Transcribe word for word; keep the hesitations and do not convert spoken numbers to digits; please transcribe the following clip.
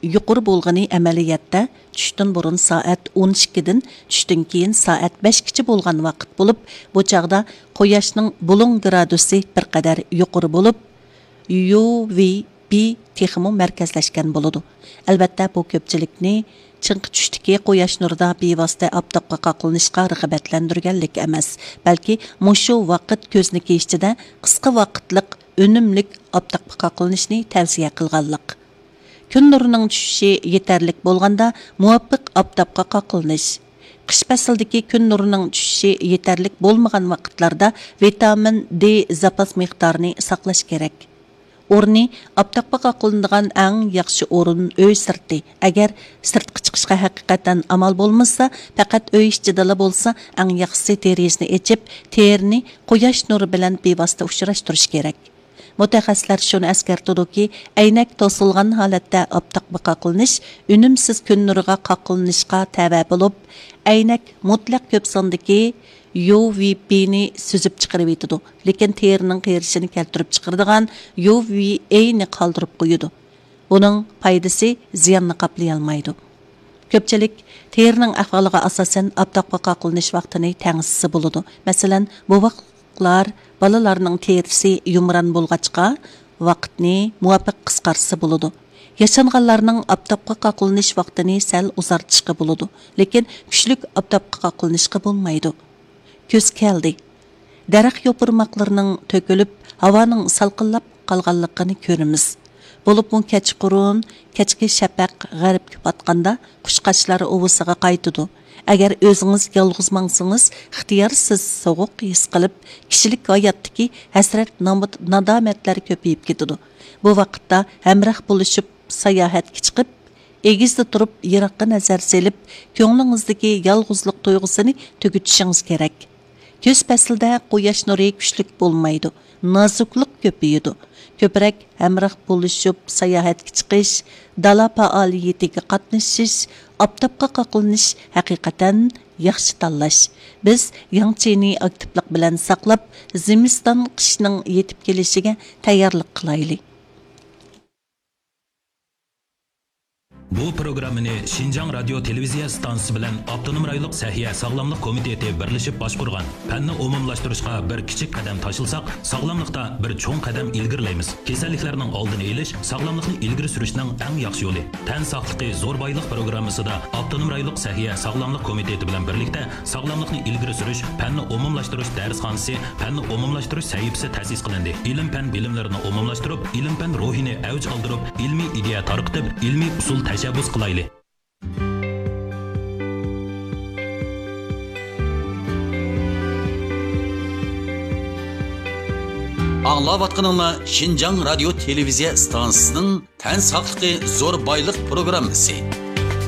يۇقىرى بولغىنى ئەمەلىيەتتە چۈشتىن بۇرۇن سائەت ئون ئىككىدىن، چۈشتىن كېيىن سائەت بەشكىچە بولغان ۋاقىت بولۇپ، بۇ چاغدا قۇياشنىڭ بۇلۇڭ گرادۇسى بىر قەدەر يۇقىرى بولۇپ، يۇ ۋى بى تېخىمۇ مەركەزلەشكەن بولىدۇ. ئەلۋەتتە، بۇ كۆپچىلىكنى چىڭقى چۈشتىكى قۇياش نۇرىدا بىۋاسىتە ئاپتاپقا قاقلىنىشقا رىغبەتلەندۈرگەنلىك ئەمەس، بەلكى مۇشۇ ۋاقىت كۆزنىكى ئىچىدە قىسقا ۋاقىتلىق ئۈنۈملۈك ئاپتاپقا قاقلىنىشنى تەۋسىيە قىلغانلىق. كۈن نۇرىنىڭ چۈشۈشى يېتەرلىك بولغاندا مۇۋاپىق ئاپتاپقا قاقلىنىش. قىش پەسلىدىكى كۈن نۇرىنىڭ چۈشۈشى يېتەرلىك بولمىغان ۋاقىتلاردا ۋىتامىن دې زاپاس مىقدارىنى ساقلاش كېرەك. ئورنى: ئاپتاپقا قاقلىنىدىغان ئەڭ ياخشى ئورۇن ئۆي سىرتى. ئەگەر سىرتقا چىقىشقا ھەقىقەتەن ئامال بولمىسا، پەقەت ئۆي ئىچىدىلا بولسا، ئەڭ ياخشىسى دېرىزىنى ئېچىپ، تېرىنى قۇياش نۇرى بىلەن بىۋاسىتە ئۇچراشتۇرۇش كېرەك. مۇتەخەسسىسلەر شۇنى ئەسكەرتىدۇكى، ئەينەك توسۇلغان ھالەتتە ئاپتاپقا قاقلىنىش ئۈنۈمسىز كۈن نۇرىغا قاقلىنىشقا تەۋە بولۇپ، ئەينەك مۇتلەق كۆپ ساندىكى يۇ ۋى بىنى سۈزۈپ چىقىرىۋېتىدۇ، لېكىن تېرىنىڭ قېرىشىنى كەلتۈرۈپ چىقىرىدىغان يۇ ۋى ئېينى قالدۇرۇپ قويىدۇ. بۇنىڭ پايدىسى زىياننى قاپلىيالمايدۇ. كۆپچىلىك تېرىنىڭ ئەھۋالىغا ئاساسەن ئاپتاپقا قاقلىنىش ۋاقتىنى تەڭشىسە بولىدۇ. مەسىلەن، بوۋاقلار، بالىلارنىڭ تېرىسى يۇمران بولغاچقا، ۋاقىتنى مۇۋاپىق قىسقارتسا بولىدۇ. ياشانغانلارنىڭ ئاپتاپقا قاقلىنىش ۋاقتىنى سەل ئۇزارتىشقا بولىدۇ، لېكىن كۈچلۈك ئاپتاپقا قاقلىنىشقا بولمايدۇ. كۈز كەلدى. دەرەخ يوپۇرماقلىرىنىڭ تۆكۈلۈپ، ھاۋانىڭ سالقىنلاپ قالغانلىقىنى كۆرىمىز. بولۇپمۇ كەچقۇرۇن، كەچكى شەپەق غەربكە پاتقاندا قۇشقاچلار ئۇۋىسىغا قايتىدۇ. ئەگەر ئۆزىڭىز يالغۇز ماڭسىڭىز، ئىختىيارسىز سوغۇق ھېس قىلىپ، كىشىلىك ھاياتتىكى ھەسرەت، نامۇت، نادامەتلەر كۆپىيىپ كېتىدۇ. بۇ ۋاقىتتا ھەمراھ بولۇشۇپ ساياھەتكە چىقىپ، ئېگىزدە تۇرۇپ، يىراققا نەزەر سېلىپ، كۆڭلىڭىزدىكى يالغۇزلۇق تۇيغۇسىنى تۈگىتىشىڭىز كېرەك. كۈز پەسلىدە قۇياش نۇرى كۈچلۈك بولمايدۇ، نازۇكلۇق كۆپىيىدۇ. كۆپرەك ھەمراھ بولۇشۇپ ساياھەتكە چىقىش، دالا پائالىيىتىگە قاتنىشىش، ئاپتاپقا قاقلىنىش ھەقىقەتەن ياخشى تاللاش. بىز ياڭ چىنى ئاكتىپلىق بىلەن ساقلاپ، زىمىستان قىشنىڭ يېتىپ كېلىشىگە تەييارلىق قىلايلى. بۇ پروگراممىنى شىنجاڭ رادىيو تېلېۋىزىيە ئىستانسىسى بىلەن ئاپتونوم رايونلۇق سەھىيە ساغلاملىق كومىتېتى بىرلىشىپ باشقۇرغان. پەننى ئومۇملاشتۇرۇشقا بىر كىچىك قەدەم تاشلىساق، ساغلاملىقتا بىر چوڭ قەدەم ئىلگىرىلەيمىز. كېسەللىكلەرنىڭ ئالدىنى ئېلىش، ساغلاملىقنى ئىلگىرى سۈرۈشنىڭ ئەڭ ياخشى يولى. تەن ساقلىقى زور بايلىق پروگراممىسىدا ئاپتونوم رايونلۇق سەھىيە ساغلاملىق كومىتېتى بىلەن بىرلىكتە ساغلاملىقنى ئىلگىرى سۈرۈش، پەننى ئومۇملاشتۇرۇش دەرسخانىسى، پەننى ئومۇملاشتۇرۇش سەھىپىسى تەسىس قىلىندى. ئىلىم-پەن بىلىملىرىنى ئومۇملاشتۇرۇپ، ئىلىم-پەن روھىنى ئەۋج ئالدۇرۇپ، ئىلمىي ئىدىيە تارقىتىپ، ئىلمىي ئۇسۇل تەشەببۇس قىلايلى. ئاڭلاۋاتقىنىڭلار شىنجاڭ رادىيو تېلېۋىزىيە ئىستانسىسىنىڭ تەن ساقلىقى زور بايلىق پروگراممىسى.